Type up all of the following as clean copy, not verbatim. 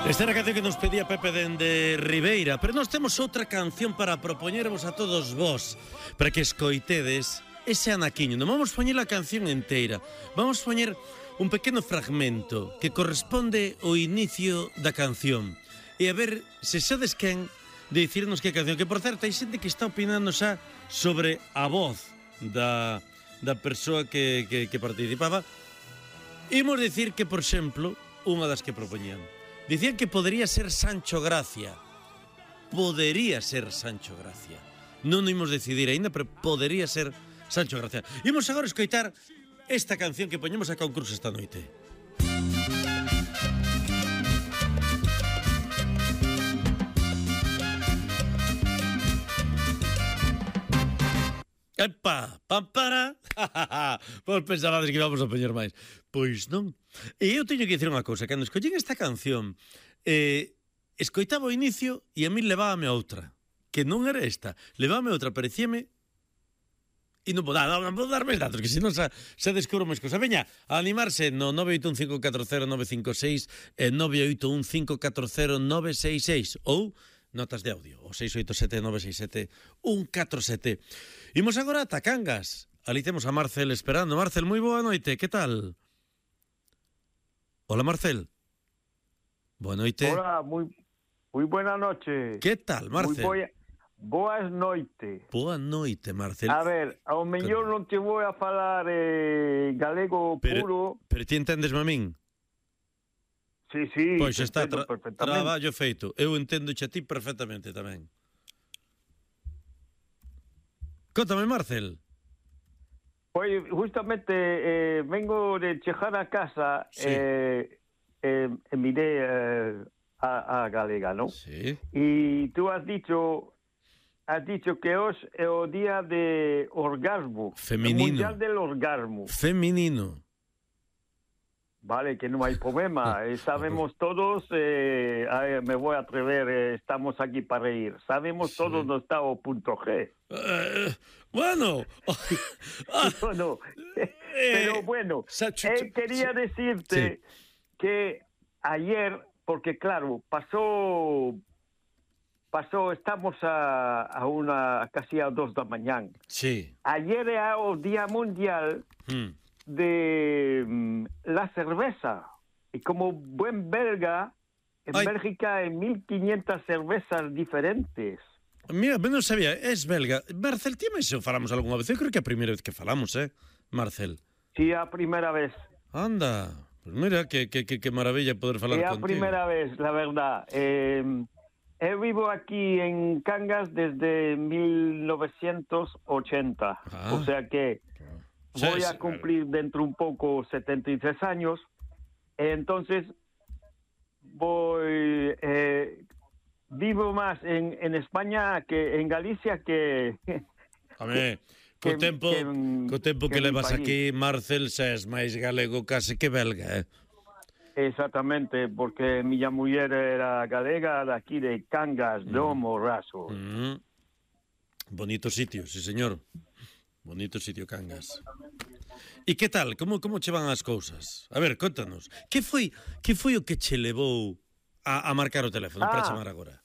Esta era a canción que nos pedía Pepe dende Ribeira, pero nós temos outra canción para propoñervos a todos vós, para que escoitedes ese anaquiño. Non vamos poñer a canción inteira, vamos poñer un pequeno fragmento que corresponde ao inicio da canción. E a ver se sabes quen de dicirnos que canción, que por certo hai xente que está opinando xa sobre a voz da persoa que participaba. Imos dicir que, por exemplo, unha das que propoñían, dicían que podería ser Sancho Gracia. Podería ser Sancho Gracia. Non imos decidir aínda, pero podería ser Sancho Gracia. Imos agora escoitar esta canción que poñemos a concurso esta noite. Epa, pampara. Vos pensabades que íbamos a poñer máis. Pois non. E eu teño que dicir unha cousa. Cando escollín esta canción, escoitaba o inicio e a mí levábame a outra. Que non era esta. Levábame a outra, parecíame. E non vou dar máis datos, que senón xa descubro máis cousa. Veña, a animarse no 981540956 e 981540966 ou notas de audio, o 687-967-147. Imos agora a Cangas. Ali temos a Marcel esperando. Marcel, moi boa noite, que tal? Hola, Marcel. Boa noite. Hola, moi buena noche. Que tal, Marcel? Boas noite. Boa noite, Marcel. A ver, ao mellor non te vou a falar galego puro. Pero ti entendesme a min? Sí, pois está traballo feito. Eu entendo a ti perfectamente tamén. Contame, Marcel. Pois justamente vengo de chegar a casa, sí. Miré a galega, non? Sí. E tú has dicho que hoxe é o día de orgasmo. Feminino. O mundial del orgasmo. Feminino. Vale, que non hai problema. Sabemos todos, me voy a atrever, estamos aquí para reír. Sabemos todos no estado.g. Bueno. Bueno, pero bueno, quería decirte que ayer, porque claro, pasó, estamos a casi a 2 da mañán. Sí. Ayer era o Día Mundial de la cerveza. Y como buen belga, en Bélgica hay 1500 cervezas diferentes. Mira, non sabía, es belga. Marcel, ti máis falamos algunha vez? Eu creo que é a primeira vez que falamos, Marcel? Sí, a primeira vez. Anda, pues mira, que maravilla poder falar contigo. É a primeira vez, la verdad. Eu vivo aquí en Cangas desde 1980. O sea que voy a cumplir dentro un poco 73 años. Entonces vivo más en España que en Galicia que... A ver, co tempo que levas aquí, Marcel, xa es máis galego case que belga, Exactamente, porque miña muller era galega daqui de Cangas, Domo, Raso. Bonito sitio, sí, señor. Bonito sitio, Cangas. E que tal? Como che van as cousas? A ver, contanos. Que foi o que che levou a marcar o teléfono para chamar agora?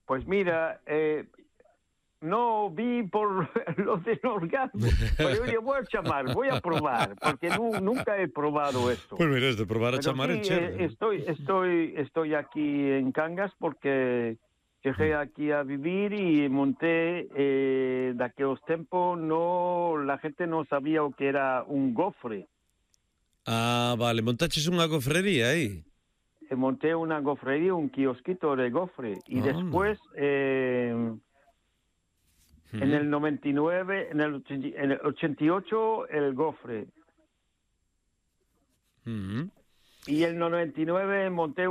Pois mira, no vi por lo del orgasmo, pero yo voy a chamar, voy a probar, porque nunca he probado esto. Pues mira, es de probar a pero chamar sí, en chévere. Estoy aquí en Cangas porque llegué aquí a vivir y monté de aquellos tiempos la gente no sabía lo que era un gofre. Ah, vale, montaches unha gofrería aí. Monté una gofrería, un kiosquito de gofre y después en el 99, en el 88 el gofre. Y en el 99 monté